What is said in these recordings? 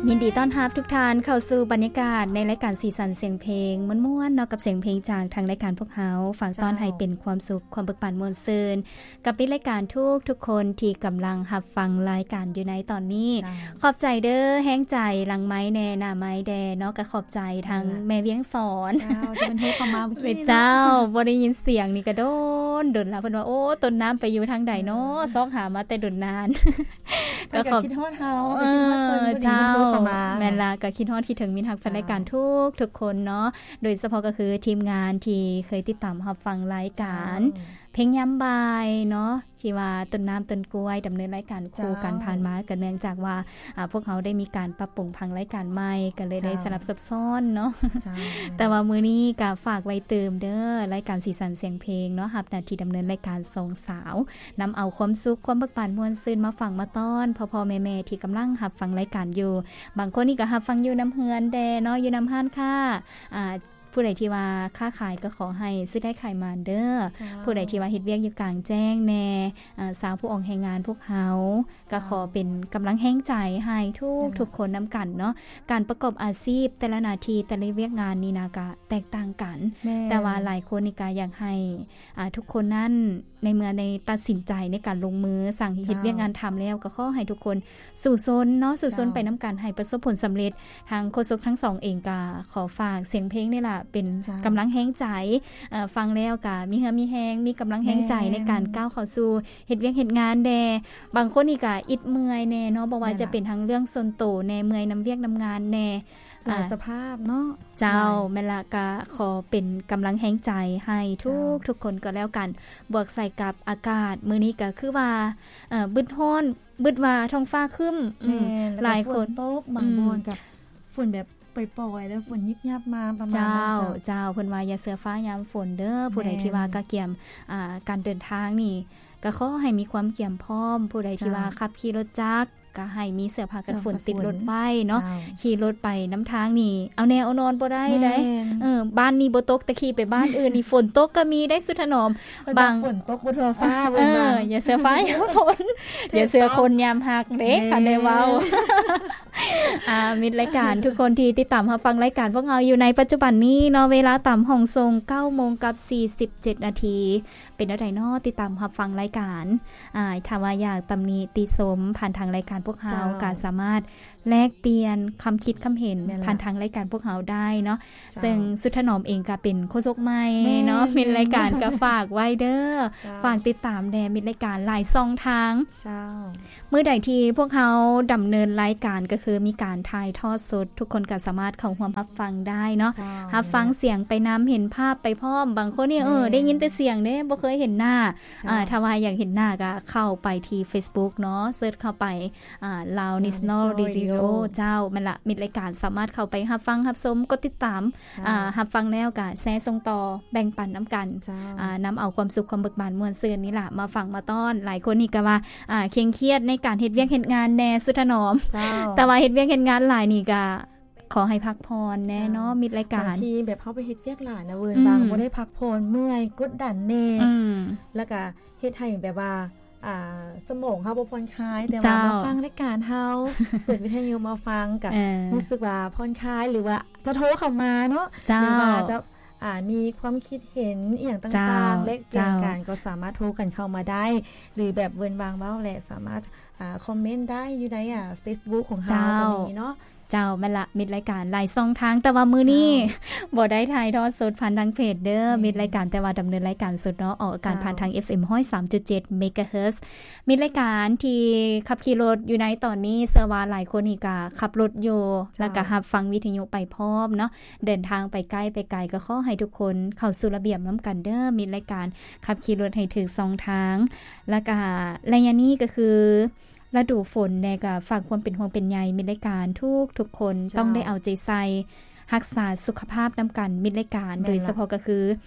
ຍິນດີຕ້ອນຮັບທຸກທ່ານເຂົ້າສູ່ບັນຍາກາດໃນລາຍການສີສັນສຽງເພງມ່ວນໆເນາະ ກັບສຽງເພງຈາກທາງລາຍການພວກເຮົາ. ຝາກຕ້ອນໃຫ້ເປັນຄວາມສຸກ ຄວາມເບີກບານມ່ວນຊື່ນ ກັບມິດລາຍການທຸກໆຄົນທີ່ກຳລັງຮັບຟັງລາຍການຢູ່ໃນຕອນນີ້. ຂອບໃຈເດີ ແຮງໃຈຫຼັງໄມແດ່ ໜ້າໄມແດ່ເນາະ ກໍຂອບໃຈທາງແມ່ວຽງສອນ ເຈົ້າ ທີ່ເພິ່ນໂທເຂົ້າມາເມື່ອກີ້ນີ້ເນາະ. ເຈົ້າ ບໍ່ໄດ້ຍິນສຽງນີ້ກໍດົນ ດົນລະ ເພິ່ນວ່າ ໂອ້ ຕົ້ນນ້ຳໄປຢູ່ທາງໃດເນາະ ຊອກຫາມາແຕ່ດົນນານ. ກໍຂອບ ເພິ່ນກໍຄິດຮອດເຮົາ ເອີ ເຈົ້າ ແມ່ນລະ ກໍຄິດຮອດຄິດເຖິງມິດຮັກແຟນລາຍການທຸກໆຄົນເນາະ ໂດຍສະເພາະກໍຄືທີມງານທີ່ເຄີຍຕິດຕາມຮັບຟັງລາຍການເພງຍາມບ່າຍເນາະ ທີ່ວ່າຕົ້ນນ້ຳຕົ້ນກ້ວຍດຳເນີນລາຍການຄູ່ກັນຜ່ານມາ ກໍເນື່ອງຈາກວ່າ ອາ ພວກເຮົາໄດ້ມີການປັບປຸງຜັງລາຍການໃໝ່ ກໍເລີຍໄດ້ສະຫຼັບສັບຊ້ອນເນາະ. ແຕ່ວ່າມື້ນີ້ກໍຝາກໄວ້ຕື່ມເດີ ລາຍການສີສັນສຽງເພງເນາະ ຮັບໜ້າທີ່ດຳເນີນລາຍການສອງສາວ ນຳເອົາຄວາມສຸກ ຄວາມເບີກບານມ່ວນຊື່ນມາຝາກມາຕ້ອນພໍ່ໆແມ່ໆທີ່ກຳລັງຮັບຟັງລາຍການຢູ່. ບາງຄົນນີ້ກໍຮັບຟັງຢູ່ນຳເຮືອນແດ່ເນາະ ຢູ່ນຳຮ້ານຄ້າ ອາ ຜູ້ໃດທີ່ວ່າຄ້າຂາຍກໍຂໍໃຫ້ຊື້ໄດ້ຂາຍໝານເດີ. ຜູ້ໃດທີ່ວ່າເຮັດວຽກຢູ່ກາງແຈ້ງແດ່ ອາ ຊາວຜູ້ອອກແຮງງານພວກເຮົາ ກໍຂໍເປັນກຳລັງແຮງໃຈໃຫ້ທຸກໆຄົນນຳກັນເນາະ. ການປະກອບອາຊີບ ແຕ່ລະໜ້າທີ່ ແຕ່ລະວຽກງານນີ້ນະ ກະແຕກຕ່າງກັນ ແຕ່ວ່າຫຼາຍຄົນນີ້ກະຢາກໃຫ້ ອາ ທຸກຄົນນັ້ນ ໃນເມື່ອໃນຕັດສິນໃຈໃນການລົງມືສ້າງເຮັດວຽກງານທຳແລ້ວ ກໍຂໍໃຫ້ທຸກຄົນສູ້ຊົນເນາະ ສູ້ຊົນໄປນຳກັນ ໃຫ້ປະສົບຜົນສຳເລັດ. ທາງໂຄສົກທັງສອງເອງກໍຂໍຝາກສຽງເພງນີ້ລະ ເປັນກຳລັງແຮງໃຈ ເອີ ຟັງແລ້ວກໍມີເຫື່ອມີແຮງ ມີກຳລັງແຮງໃຈໃນການກ້າວເຂົ້າສູ່ເຮັດວຽກເຮັດງານແດ່. ບາງຄົນນີ້ກໍອິດເມື່ອຍແດ່ເນາະ ບໍ່ວ່າຈະເປັນທັງເລື່ອງສ່ວນໂຕແດ່ ເມື່ອຍນຳວຽກນຳງານແດ່ ຫຼາຍສະພາບເນາະ. ເຈົ້າ ແມ່ນລະ ກະຂໍເປັນກຳລັງແຮງໃຈໃຫ້ທຸກໆຄົນກໍແລ້ວກັນ. ບວກໃສ່ກັບອາກາດມື້ນີ້ກະຄືວ່າ ເອີ ບຶດຮ້ອນ ບຶດວ່າທ້ອງຟ້າຄຶ້ມ ແມ່ນ ຫຼາຍຄົນ ແລ້ວກໍຝົນຕົກ ບາງບ່ອນກໍຝົນແບບປ່ອຍໆ ແລ້ວຝົນຍິບຍັບມາປະມານນັ້ນ. ເຈົ້າ ເຈົ້າ ເພິ່ນວ່າຢ່າເຊື່ອຟ້າຍາມຝົນເດີ. ຜູ້ໃດທີ່ວ່າກະກຽມ ອາ ການເດີນທາງນີ້ ກໍຂໍໃຫ້ມີຄວາມກຽມພ້ອມ. ຜູ້ໃດທີ່ວ່າຂັບຂີ່ລົດຈັກ ກໍໃຫ້ມີເສື້ອຜ້າກັນຝົນຕິດລົດໄວ້ເນາະ. ຂີ່ລົດໄປນຳທາງນີ້ ເອົາແນ່ເອົານອນບໍ່ໄດ້ໃດ. ເອີ ບ້ານນີ້ບໍ່ຕົກ ແຕ່ຂີ່ໄປບ້ານອື່ນນີ້ຝົນຕົກກໍມີໄດ໋ ສຸດຖະໜອມ. ບາງ ຝົນຕົກບໍ່ທົ່ວຟ້າ ເອີ ຢ່າເຊື່ອຟ້າຍາມຝົນ ຢ່າເຊື່ອຄົນຍາມຮັກເດ້ ຄັນໄດ້ເວົ້າ. ອາ ມິດລາຍການທຸກຄົນທີ່ຕິດຕາມຮັບຟັງລາຍການພວກເຮົາຢູ່ໃນປັດຈຸບັນນີ້ເນາະ ເວລາຕາມຫ້ອງສົ່ງເກົ້າໂມງກັບສີ່ສິບເຈັດນາທີ. ເປັນແນວໃດເນາະ ຕິດຕາມຮັບຟັງລາຍການ ອາ ຖ້າວ່າຢາກຕຳໜິຕິຊົມຜ່ານທາງລາຍການພວກເຮົາ ເຈົ້າ ກໍສາມາດແລກປ່ຽນຄຳຄິດຄຳເຫັນ ແມ່ນລະ ຜ່ານທາງລາຍການພວກເຮົາໄດ້ເນາະ. ເຈົ້າ ເຊິ່ງສຸດຖະໜອມເອງກໍເປັນໂຄສົກໃໝ່ເນາະ ແມ່ນ ມິດລາຍການກໍຝາກໄວ້ເດີ. ເຈົ້າ ຝາກຕິດຕາມແດ່ ມິດລາຍການຫຼາຍຊ່ອງທາງ. ເຈົ້າ ມື້ໃດທີ່ພວກເຮົາດຳເນີນລາຍການ ກໍຄືມີການຖ່າຍທອດສົດ ທຸກຄົນກໍສາມາດເຂົ້າຮ່ວມຮັບຟັງໄດ້ເນາະ. ເຈົ້າ ຮັບຟັງສຽງໄປນຳ ເຫັນພາບໄປພ້ອມ. ບາງຄົນນີ້ ເອີ ໄດ້ຍິນແຕ່ສຽງເດ້ ບໍ່ເຄີຍເຫັນໜ້າ. ເຈົ້າ ອາ ຖ້າວ່າຢາກເຫັນໜ້າກໍເຂົ້າໄປທີ່ເຟສບຸກເນາະ ເສີດເຂົ້າໄປ ອາ Lao National Radio. ເຈົ້າ ແມ່ນລະ ມິດລາຍການສາມາດເຂົ້າໄປຮັບຟັງຮັບຊົມ ກົດຕິດຕາມ ເຈົ້າ ອາ ຮັບຟັງແລ້ວກໍແຊສົ່ງຕໍ່ ແບ່ງປັນນຳກັນ. ເຈົ້າ ອາ ນຳເອົາຄວາມສຸກ ຄວາມເບີກບານມ່ວນຊື່ນນີ້ລະມາຝາກມາຕ້ອນ. ຫຼາຍຄົນນີ້ກໍວ່າ ອາ ເຄັ່ງຄຽດໃນການເຮັດວຽກເຮັດງານແດ່ ສຸດຖະໜອມ. ເຈົ້າ ແຕ່ວ່າເຮັດວຽກເຮັດງານຫຼາຍນີ້ກໍຂໍໃຫ້ພັກຜ່ອນແດ່ເນາະ. ເຈົ້າ ມິດລາຍການ ບາງທີແບບເຮົາໄປເຮັດວຽກຫຼາຍນະ ເວີນບາງ ອືມ ບໍ່ໄດ້ພັກຜ່ອນ ເມື່ອຍ ກົດດັນແດ່. ອືມ ແລ້ວກໍເຮັດໃຫ້ແບບວ່າ ອາ ສະໝອງເຮົາບໍ່ຜ່ອນຄາຍ ແຕ່ວ່າ ເຈົ້າ ມາຟັງລາຍການເຮົາ ເປີດວິທະຍຸມາຟັງ ກໍ ເອີ ຮູ້ສຶກວ່າຜ່ອນຄາຍ ຫຼືວ່າຈະໂທເຂົ້າມາເນາະ. ເຈົ້າ ຫຼືວ່າຈະ ອາ ມີຄວາມຄິດເຫັນອີ່ຫຍັງຕ່າງໆ ເຈົ້າ ແລກປ່ຽນກັນ ເຈົ້າ ກໍສາມາດໂທກັນເຂົ້າມາໄດ້ ຫຼືແບບເວີນວາງເວົ້າ ແລະ ສາມາດ ອາ ຄອມເມັນໄດ້ຢູ່ໃນ ອາ ເຟສບຸກຂອງເຮົາ ເຈົ້າ ກໍມີເນາະ. ເຈົ້າ ແມ່ນລະ ມິດລາຍການຫຼາຍຊ່ອງທາງ ແຕ່ວ່າມື້ນີ້ ເຈົ້າ ບໍ່ໄດ້ຖ່າຍທອດສົດຜ່ານທາງເພຈເດີ ແມ່ນ ມິດລາຍການ ແຕ່ວ່າດຳເນີນລາຍການສົດເນາະ ອອກອາກາດ ເຈົ້າ ຜ່ານທາງ ເອັຟເອັມ ຮ້ອຍສາມຈຸດເຈັດ ເມກາເຮີດ. ມິດລາຍການທີ່ຂັບຂີ່ລົດຢູ່ໃນຕອນນີ້ ເຊື່ອວ່າຫຼາຍຄົນນີ້ກະຂັບລົດຢູ່ ເຈົ້າ ແລ້ວກະຮັບຟັງວິທະຍຸໄປພ້ອມເນາະ ເດີນທາງໄປໃກ້ໄປໄກ ກໍຂໍໃຫ້ທຸກຄົນເຂົ້າສູ່ລະບຽບນຳກັນເດີ ມິດລາຍການ ຂັບຂີ່ລົດໃຫ້ຖືກຊ່ອງທາງ. ແລ້ວກະໄລຍະນີ້ກໍຄື ລະດູຝົນແດ່ ກໍຝາກຄວາມເປັນຫ່ວງເປັນໃຍມິດລາຍການທຸກໆຄົນ ເຈົ້າ ຕ້ອງໄດ້ເອົາໃຈໃສ່ ຮັກສາສຸຂະພາບນຳກັນ ມິດລາຍການ ແມ່ນລະ ໂດຍສະເພາະກໍຄື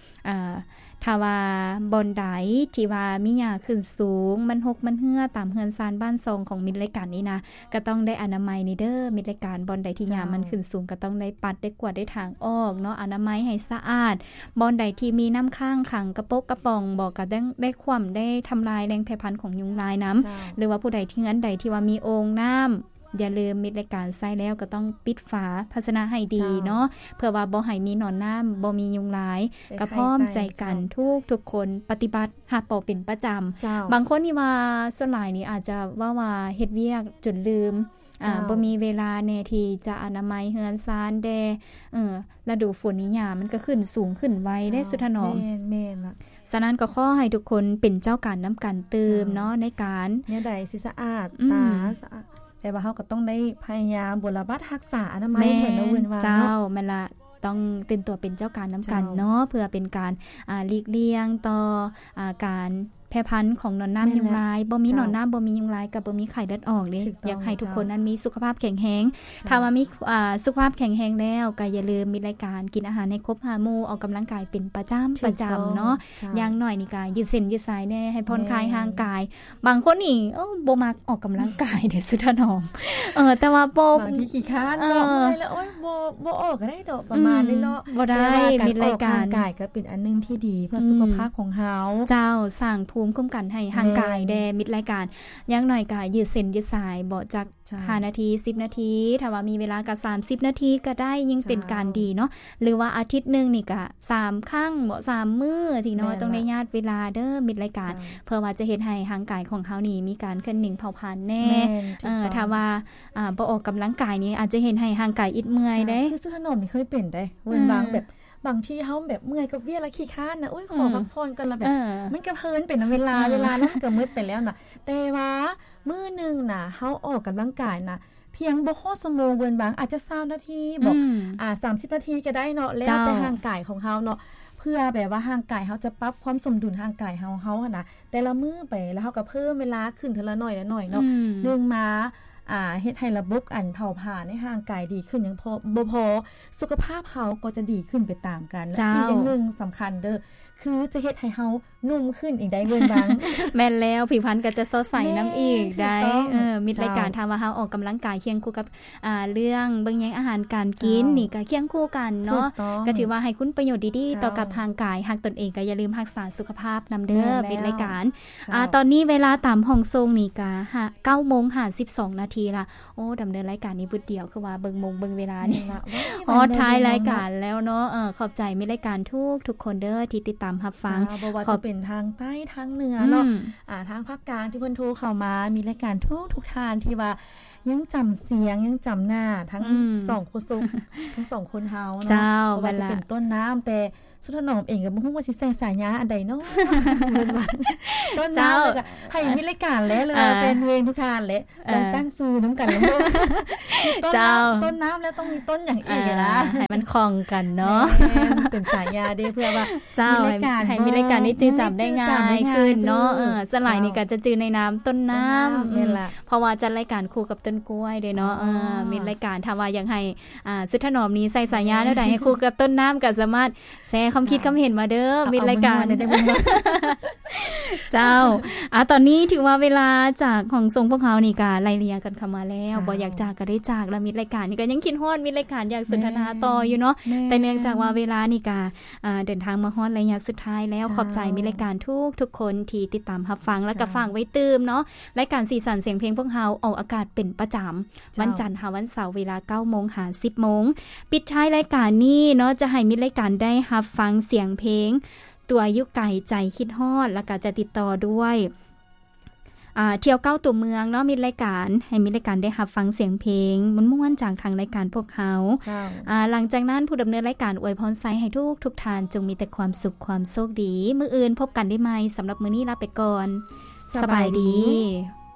ອາ ຖ້າວ່າບ່ອນໃດທີ່ວ່າມີຫຍ້າຂຶ້ນສູງ ມັນຮົກມັນເຮື້ອຕາມເຮືອນຊານບ້ານຊ່ອງຂອງມິດລາຍການນີ້ນະ ກໍຕ້ອງໄດ້ອະນາໄມນີ້ເດີ ມິດລາຍການ. ບ່ອນໃດທີ່ຫຍ້າມັນຂຶ້ນສູງ ກໍຕ້ອງໄດ້ປັດ ໄດ້ກວາດ ໄດ້ຖາງອອກເນາະ ອະນາໄມໃຫ້ສະອາດ. ບ່ອນໃດທີ່ມີນ້ຳຄ້າງຂັງ ກະປົກກະປ໋ອງບໍ ກໍຕ້ອງໄດ້ຂວ້ຳ ໄດ້ທຳລາຍແຫຼ່ງແຜ່ພັນຂອງຍຸງລາຍນຳ ເຈົ້າ ຫຼືວ່າຜູ້ໃດທີ່ ເຮືອນໃດທີ່ວ່າມີໂອ່ງນ້ຳ ຢ່າລືມມິດລາຍການໃຊ້ແລ້ວກໍຕ້ອງປິດຝາພາຊະນະໃຫ້ດີເນາະ ເພື່ອວ່າບໍ່ໃຫ້ມີໜອນນ້ຳ ບໍ່ມີຍຸງລາຍ ກໍພ້ອມໃຈກັນທຸກໆຄົນປະຕິບັດຮັບເອົາເປັນປະຈຳ. ບາງຄົນນີ້ວ່າສ່ວນຫຼາຍນີ້ອາດຈະເວົ້າວ່າເຮັດວຽກຈົນລືມ ອ່າ ບໍ່ມີເວລາແດ່ທີ່ຈະອະນາໄມເຮືອນຊານແດ່ ເອີ ລະດູຝົນນີ້ຫຍ້າມັນກໍຂຶ້ນສູງຂຶ້ນໄວເດ້ ເຈົ້າ ສຸດຖະໜອມ. ແມ່ນໆ ລະ ສະນັ້ນກໍຂໍໃຫ້ທຸກຄົນເປັນເຈົ້າການນຳກັນຕື່ມເນາະ ເຈົ້າ ໃນການ ແນວໃດຊິສະອາດ ອືມ ຕາສະອາດ ແຕ່ວ່າເຮົາກໍຕ້ອງໄດ້ພະຍາຍາມບົວລະບັດຮັກສາອະນາໄມ ແມ່ນ ເໝືອນລະເວີນວ່າ ເຈົ້າ ເນາະ ແມ່ນລະ ຕ້ອງຕື່ນຕົວເປັນເຈົ້າການນຳກັນເນາະ ເຈົ້າ ເພື່ອເປັນການ ອ່າ ຫຼີກລ່ຽງຕໍ່ ອ່າ ການແຜ່ພັນຂອງໜອນນ້ຳ ແມ່ນແຫຼະ ຍຸງລາຍ ບໍ່ມີ ເຈົ້າ ໜອນນ້ຳ ບໍ່ມີຍຸງລາຍ ກໍບໍ່ມີໄຂ້ເລືອດອອກເດ້. ຖືກຕ້ອງ ຢາກໃຫ້ທຸກຄົນນັ້ນມີສຸຂະພາບແຂງແຮງ. ເຈົ້າ ຖ້າວ່າມີ ອ່າ ສຸຂະພາບແຂງແຮງແລ້ວ ກໍຢ່າລືມມິດລາຍການ ກິນອາຫານໃຫ້ຄົບຫ້າໝູ່ ອອກກຳລັງກາຍເປັນປະຈຳ ຖືກຕ້ອງ ປະຈຳເນາະ ເຈົ້າ ຢ່າງໜ້ອຍນີ້ກໍຢືດເສັ້ນຢືດສາຍແດ່ ໃຫ້ຜ່ອນຄາຍ ແມ່ນ ຮ່າງກາຍ. ບາງຄົນນີ້ ໂອ້ ບໍ່ມັກອອກກຳລັງກາຍເດ້ ສຸດຖະໜອມ ເອີ ແຕ່ວ່າບໍ່ ບາງທີຂີ້ຄ້ານເນາະ ເອີ ເມື່ອຍແລ້ວ ໂອ້ຍ ບໍ່ ບໍ່ອອກກໍໄດ້ດອກ ປະມານນີ້ເນາະ ອືມ ບໍ່ໄດ້. ແຕ່ວ່າການ ມິດລາຍການ ອອກກຳລັງກາຍກໍເປັນອັນໜຶ່ງທີ່ດີເພື່ອ ອືມ ສຸຂະພາບຂອງເຮົາ ເຈົ້າ ສ້າງພູມຄຸ້ມກັນໃຫ້ຮ່າງກາຍແດ່ ແມ່ນ ມິດລາຍການ. ຢ່າງໜ້ອຍກໍຢືດເສັ້ນຢືດສາຍ ບໍ່ຈັກ ເຈົ້າ ຫ້ານາທີ ສິບນາທີ ຖ້າວ່າມີເວລາກໍສາມສິບນາທີກໍໄດ້ ຍິ່ງເປັນການ ເຈົ້າ ດີເນາະ ຫຼືວ່າອາທິດໜຶ່ງນີ້ກໍສາມຄັ້ງເບາະ ສາມມື້ຊີ້ເນາະ ແມ່ນລະ ຕ້ອງໄດ້ຍາດເວລາເດີ ມິດລາຍການ ເຈົ້າ ເພື່ອວ່າຈະເຮັດໃຫ້ຮ່າງກາຍຂອງເຮົານີ້ມີການເຄື່ອນໜິງເຜົາຜານແດ່. ແມ່ນ ເອີ ຖືກຕ້ອງ ຖ້າວ່າ ອ່າ ບໍ່ອອກກຳລັງກາຍນີ້ ອາດຈະເຮັດໃຫ້ຮ່າງກາຍອິດເມື່ອຍເດ້ ເຈົ້າ ຄືສຸດຖະໜອມນີ້ເຄີຍເປັນເດ້ ເອີ ເວົ້ນວ່າງແບບ ບາງທີເຮົາແບບເມື່ອຍກັບວຽກແລ້ວຂີ້ຄ້ານນະ ໂອ້ຍ ອືມ ຂໍພັກຜ່ອນກ່ອນລະ ແບບ ເອີ ມັນກໍເພີນໄປນຳເວລາ ອືມ ເວລານັ້ນກໍໝົດໄປແລ້ວນະ ແຕ່ວ່າມື້ໜຶ່ງນະ ເຮົາອອກກຳລັງກາຍນະ ພຽງບໍ່ຮອດຊົ່ວໂມງ ເວີນບາງອາດຈະຊາວນາທີເບາະ ອືມ ອ່າ ສາມສິບນາທີກໍໄດ້ເນາະ ແລ້ວແຕ່ ເຈົ້າ ຮ່າງກາຍຂອງເຮົາເນາະ ເພື່ອແບບວ່າຮ່າງກາຍເຮົາຈະປັບຄວາມສົມດຸນຮ່າງກາຍເຮົາ ເຮົາຫັ້ນນະ ແຕ່ລະມື້ໄປ ແລ້ວເຮົາກໍເພີ່ມເວລາຂຶ້ນເທື່ອລະໜ້ອຍລະໜ້ອຍເນາະ ອືມ ໜຶ່ງມາ ອ່າ ເຮັດໃຫ້ລະບົບອັນເຜົາຜານໃນຮ່າງກາຍດີຂຶ້ນ ຍັງພໍ ບໍ່ພໍ ສຸຂະພາບເຮົາກໍຈະດີຂຶ້ນໄປຕາມກັນ ເຈົ້າ ແລະ ອີກຢ່າງໜຶ່ງສຳຄັນເດີ ຄືຈະເຮັດໃຫ້ເຮົາໜຸ່ມຂຶ້ນອີກໄດ້ເວີນບາງ. ແມ່ນແລ້ວ ຜິວພັນກໍຈະສົດໃສນຳອີກໄດ້ ແມ່ນ ຖືກຕ້ອງ ເອີ ມິດລາຍການ ເຈົ້າ ຖ້າວ່າເຮົາອອກກຳລັງກາຍຄຽງຄູ່ກັບ ອ່າ ເລື່ອງເບິ່ງແຍງອາຫານການກິນ ເຈົ້າ ນີ້ກໍຄຽງຄູ່ກັນເນາະ ຖືກຕ້ອງ ກໍຖືວ່າໃຫ້ຄຸນປະໂຫຍດດີໆ ເຈົ້າ ຕໍ່ກັບຮ່າງກາຍ ຮັກຕົນເອງກໍຢ່າລືມຮັກສາສຸຂະພາບນຳເດີ ແມ່ນແລ້ວ ມິດລາຍການ ເຈົ້າ ອ່າ ຕອນນີ້ເວລາຕາມຫ້ອງສົ່ງນີ້ກໍຫ້າ ເກົ້າໂມງຫ້າສິບສອງນາທີລະ. ໂອ້ ດຳເນີນລາຍການນີ້ບຶດດຽວ ຄືວ່າເບິ່ງໂມງເບິ່ງເວລານີ້ ແມ່ນລະ ຮອດທ້າຍລາຍການແລ້ວເນາະ ເອີ ຂອບໃຈມິດລາຍການທຸກໆຄົນເດີ ທີ່ຕິດຕາມຮັບຟັງ ເຈົ້າ ບໍ່ວ່າຈະເປັນທາງໃຕ້ທາງເໜືອເນາະ ອືມ ອ່າ ທາງພາກກາງທີ່ເພິ່ນໂທເຂົ້າມາ ມິດລາຍການທຸກໆທ່ານທີ່ວ່າຍັງຈຳສຽງ ຍັງຈຳໜ້າທັງ ອືມ ສອງຄົນ ທັງສອງຄົນເຮົາເນາະ ເຈົ້າ ບໍ່ວ່າຈະເປັນ ແມ່ນລະ ຕົ້ນນ້ຳ ແຕ່ ສຸດຖະໜອມເອງກໍບໍ່ຮູ້ວ່າຊິໃສ່ສາຍາອັນໃດເນາະ ຕົ້ນນ້ຳ ເຈົ້າ ແລ້ວກໍໃຫ້ມີລາຍການແຫຼະ ຫຼືວ່າ ອ່າ ແຟນເພງທຸກທ່ານແຫຼະ ເອີ ລອງຕັ້ງຊື່ນຳກັນລະເບິ່ງ ຕົ້ນນ້ຳ ເຈົ້າ ຕົ້ນນ້ຳແລ້ວຕ້ອງມີຕົ້ນຫຍັງອີກນະ ອ່າ ໃຫ້ມັນຄ່ອງກັນເນາະ ແມ່ນ ເປັນສາຍາເດ້ ເພື່ອວ່າ ເຈົ້າ ມີລາຍການ ໃຫ້ ໃຫ້ມີລາຍການໄດ້ຈື່ຈຳໄດ້ງ່າຍຂຶ້ນເນາະ ເອີ ສ່ວນຫຼາຍນີ້ກໍຈະຈື່ໃນນາມຕົ້ນນ້ຳ ຕົ້ນນ້ຳ ອືມ ແມ່ນລະ ເພາະວ່າຈັດລາຍການຄູ່ກັບຕົ້ນກ້ວຍເດ້ເນາະ ອໍ ເອີ ມິດລາຍການ ຖ້າວ່າຢາກໃຫ້ ອ່າ ສຸດຖະໜອມນີ້ໃສ່ສາຍາແນວໃດໃຫ້ຄູ່ກັບຕົ້ນນ້ຳ ກໍສາມາດແຊຄວາມຄິດຄວາມເຫັນມາເດີ ເຈົ້າ ມິດລາຍການ ເຈົ້າ ອ່າ ຕອນນີ້ຖືວ່າເວລາຈາກຫ້ອງສົ່ງພວກເຮົານີ້ກໍໄລ່ເລ່ຍກັນເຂົ້າມາແລ້ວ ເຈົ້າ ບໍ່ຢາກຈາກກໍໄດ້ຈາກລະ ມິດລາຍການນີ້ກໍຍັງຄິດຮອດມິດລາຍການ ຢາກສົນທະນາຕໍ່ຢູ່ເນາະ ແມ່ນ ແຕ່ເນື່ອງຈາກວ່າເວລານີ້ກໍ ອ່າ ເດີນທາງມາຮອດໄລຍະສຸດທ້າຍແລ້ວ ເຈົ້າ ຂອບໃຈມິດລາຍການທຸກໆຄົນທີ່ຕິດຕາມຮັບຟັງ ແລ້ວກໍ ເຈົ້າ ຝາກໄວ້ຕື່ມເນາະ ລາຍການສີສັນສຽງເພງພວກເຮົາອອກອາກາດເປັນປະຈຳ ເຈົ້າ ວັນຈັນຫາວັນເສົາ ເວລາເກົ້າໂມງຫາສິບໂມງ. ປິດທ້າຍລາຍການນີ້ເນາະ ຈະໃຫ້ມິດລາຍການໄດ້ຮັບຟັງສຽງເພງ ຕົວຢູ່ໄກໃຈຄິດຮອດ ແລ້ວກໍຈະຕິດຕໍ່ດ້ວຍ ອ່າ ທ່ຽວເກົ້າຕົວເມືອງເນາະ ມິດລາຍການ ໃຫ້ມິດລາຍການໄດ້ຮັບຟັງສຽງເພງມ່ວນໆຈາກທາງລາຍການພວກເຮົາ ເຈົ້າ ອ່າ ຫຼັງຈາກນັ້ນ ຜູ້ດຳເນີນລາຍການອວຍພອນໄຊໃຫ້ທຸກໆທ່ານຈົ່ງມີແຕ່ຄວາມສຸກຄວາມໂຊກດີ ມື້ອື່ນພົບກັນໄດ້ໃໝ່ ສຳລັບມື້ນີ້ລາໄປກ່ອນ ສະບາຍດີ ສະບາຍດີ.